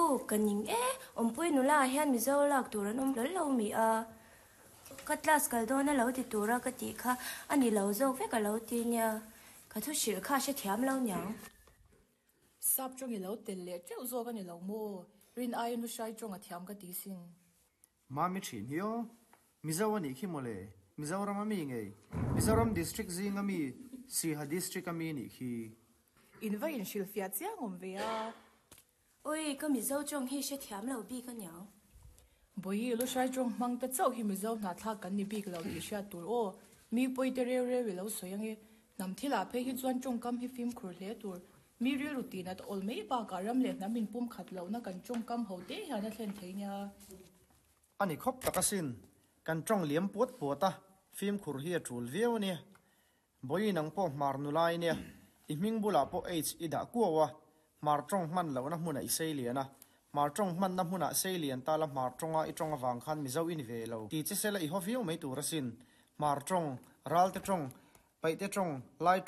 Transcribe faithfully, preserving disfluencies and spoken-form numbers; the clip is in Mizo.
U, ka ning e, Awmpui nula ah hian Mizo lak tur an awm hlawl lo mi a? Ka class kal dawn a lo ti tura ka tih kha a ni lo zawk vek a lo ti nia, ka thu hrilh kha a hrethiam lo niang. Sap tawng i lo tel leh teuh zawk a ni lo maw? Rin aiin Lushai tawng a thiam ka ti sin. Mami thin hi aw. Mizo a nih khi mawle. Mizoram a mi ngei. Mizoram District zing a mi Siha District a mi nih khi. In va inhrilhfiah chiang awm ve a. Oi, ka Mizo tawng hi hrethiam lo bik aniang. Bawihi, Lushai tawng hmang te chauh hi Mizo hnahthlak kan ni bik lo tih hriat tur aw. Mi pawi te reu reu i lo sawi ange. Hnam thil ah phei hi chuan tawngkam hi fimkhur hle tur. Mi rilru tih nat awl mai bakah ram leh hnam in pum khat lohna kan tawngkam ho te hian a thlen thei nia. A ni khawp tak asin. Kan tawng liam puat puat a, fimkhur hi a tul viau ania. Bawihi nang pawh hmar nula i nia, i hming bulah pawh H i dah kuau a, hmar tawng hman lohna hmunah i sei lian a, hmar tawng hmanna hmunah sei lian ta la hmar tawnga i tawng avang khan Mizo i ni ve lo ti che sela i haw viau mai tur asin. Hmar tawng, Ralte tawng, Paihte tawng, Lai tawng,